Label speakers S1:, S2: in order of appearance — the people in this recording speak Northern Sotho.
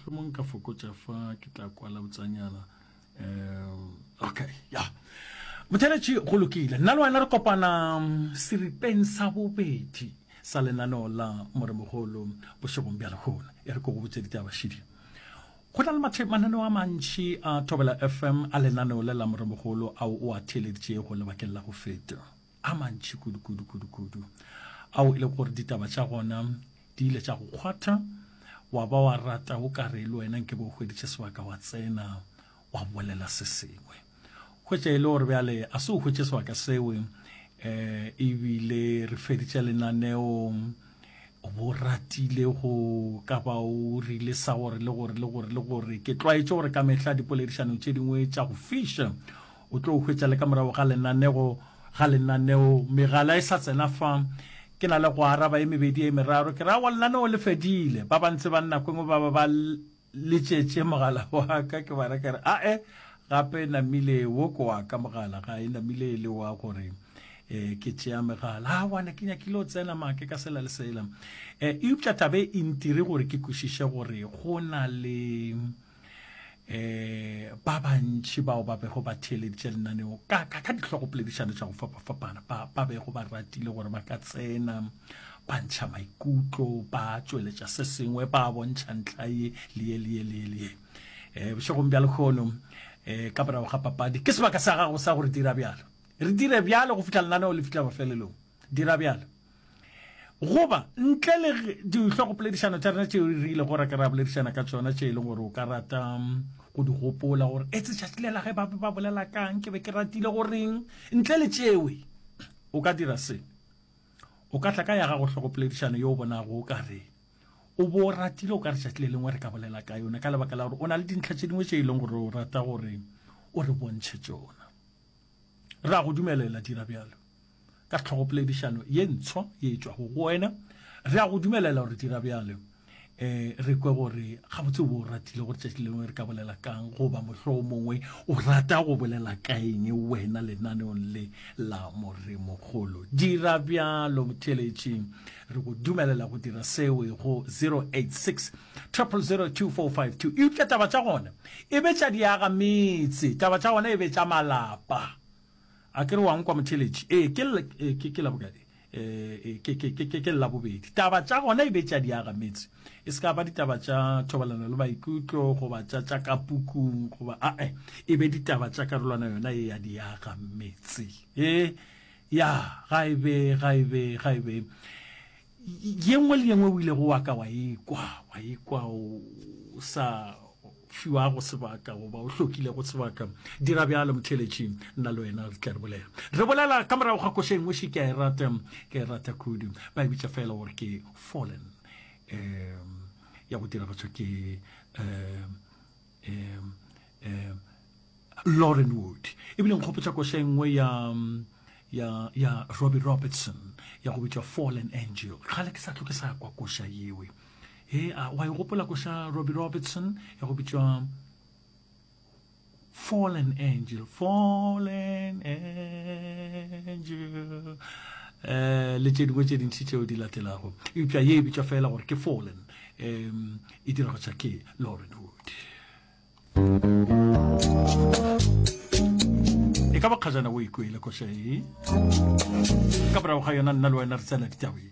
S1: Mohlomong ka fokotša fa ke tla kwala botsanyana. Um okay, ya. Motheletši go lokile. Nna le wena re kopana mm, seripeng sa bobedi sa lenaneo la Moremogolo bošegong bja lehono. E re ko go botse ditaba šidi. Go na le mathe mananeo a mantši a Thobela FM a lenaneo le la Moremogolo ao o a theeleditšego lebakeng la go feta. A mantši kudu kudu kudu kudu ao e le gore ditaba tša gona di ile tša go kgwatha wa ba wa rata o ka re le wena nke bo hweditše sebaka wa tsena wa bolela se sengwe. Hwetša e le gore bjale a se o hwetše sebaka seo um ebile re feditše lenaneo o bo ratile go ka ba o rile sa gore le gore le gore le gore ke tlwaetše gore ka mehla dipoledišanong tše dingwe tša go fiša o tlo hwetša le ka morago ga lenanego ga lenaneo megala e sa tsena fa ke na le go araba e mebedi e meraro ke ra wa lenaneo le fedile ba bantse ba nna kwengwe ba ba ba letšetše mogala wa ka ke bara ke re ae gape namile wo ke wa ka mogala ga e namile e le wa gore um ke tšea megala a wane ke nyakile o tsena make ka sela le sela um eupša tabe e ntire gore ke kwešiše gore go na le eh ba bantši bao ba bego ba theeleditše lenaneo ka ka ka dihlogopoledišano tša go fapafapana ba ba bego ba ratile gore ba ka tsena ba ntšha maikutlo ba tšweletša se sengwe ba bontšha ntlha ye le ye le ye le ye le ye um bošegong bja lekgono um ka morago ga papadi ke sebaka sa gago sa gore dira bjalo re dire bjalo go fihla lenaneo le fihla mafelelong dira bjalo Goba, ntle le dihlogopoledišano tša rena tšeo re ilego ra ke ra boledišana ka tšona tše e leng gore o ka rata mm, go di gopola gore etse tšatši le la ge ba be ba bolela kang ke be ke ratile goreng ntle le tšewe o ka dira se o ka tla ka ya gago hlogopoledišano yo o bonago o ka re o bo o ratile o ka re tšatši le lengwe re ka bolela ka yone ka lebaka la gore o na le dintlha tše dingwe tše e leng gore o rata gore o re bontšhe tšona re a go dumelela dira bjalo Ka hlogopoledišano ye ntshwa ye e tšwago go wena, re a go dumelela gore dira bjalo. Um re kwe gore gabotse o bo o ratile gore tšatši lengwe re ka bolela kang, goba mohlomongwe o rata go bolela ka eng wena lenaneong le la Moremogolo. Dira bjalo, motheeletši. Re go dumelela go dira seo go 086 000 2452. Eupša taba tša gona e be tša diaga metse, taba tša gona e be tša malapa. A ke re wa nkwa motheeletši? Ee, ke, ee, ke, ke Labokae? Ee, ke, ke, ke, ke, ke Labobedi. Taba tša gona e be tša diaga metse. E se ka ba ditaba tša thobalano le maikutlo goba tša tša ka pukung goba ae, e be ditaba tša karolwana yona ye ya diaga metse. E, ya, ga e be, ga e be, ga e be. Ye nngwe le ye nngwe o ilego wa ka wa ekwa, wa ekwa o sa fiwago sebaka goba o hlokilego sebaka. Dira bjalo motheeletši, nna le wena re tla re bolela. Re bolela ka morago ga koša e nngwe še ke a e rata, ke a e rata kudu. Ba e bitša fela gore ke Fallen, um ya go diragatšwa ke um um um Lauren Wood. Ebile nkgopotša koša e nngwe ya ya ya Robbie Robertson ya go bitšwa Fallen Angel. Kgale ke sa tlo ke sa kwa koša yewe. He a wa e gopola koša Robbie Robertson ya go bitšwa Fallen Angel, Fallen Angel. Eh le tše dingwe tše dintši tšeo di latelago. Eupša ye e bitšwa fela gore ke Fallen. Um e diragatša ke Lauren Wood. E ka ba kgajana o ikwele koša e. Ka morago ga yona nna le wena re tsena ditabeng.